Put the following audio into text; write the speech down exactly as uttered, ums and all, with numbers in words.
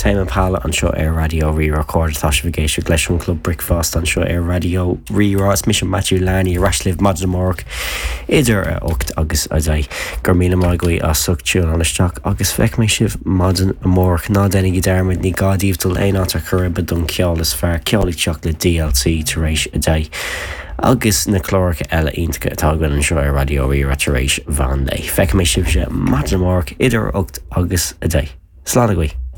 Tame Impala anseo ar Raidió Rí-Rá tá sibh ag éisteacht leis an Club Bricfeasta anseo ar Raidió Rí-Rá is mise Matthew Learney ar ais libh maidin amárach idir a hocht agus a deich go raibh míle maith agaibh as ucht tiúnáil isteach agus feicfidh mé sibh maidin amárach ná déanaigí dearmad ní gá daoibh dul aon áit ar chor ar bith don cheol is fearr ceol ag teacht le DLC tar éis a deich. agus na cláracha eile iontacha atá againn anseo ar Raidió Rí-Rá tar éis mheán lae. Feicfidh mé sibh maidin amárach idir ocht agus a deich. Slán agaibh.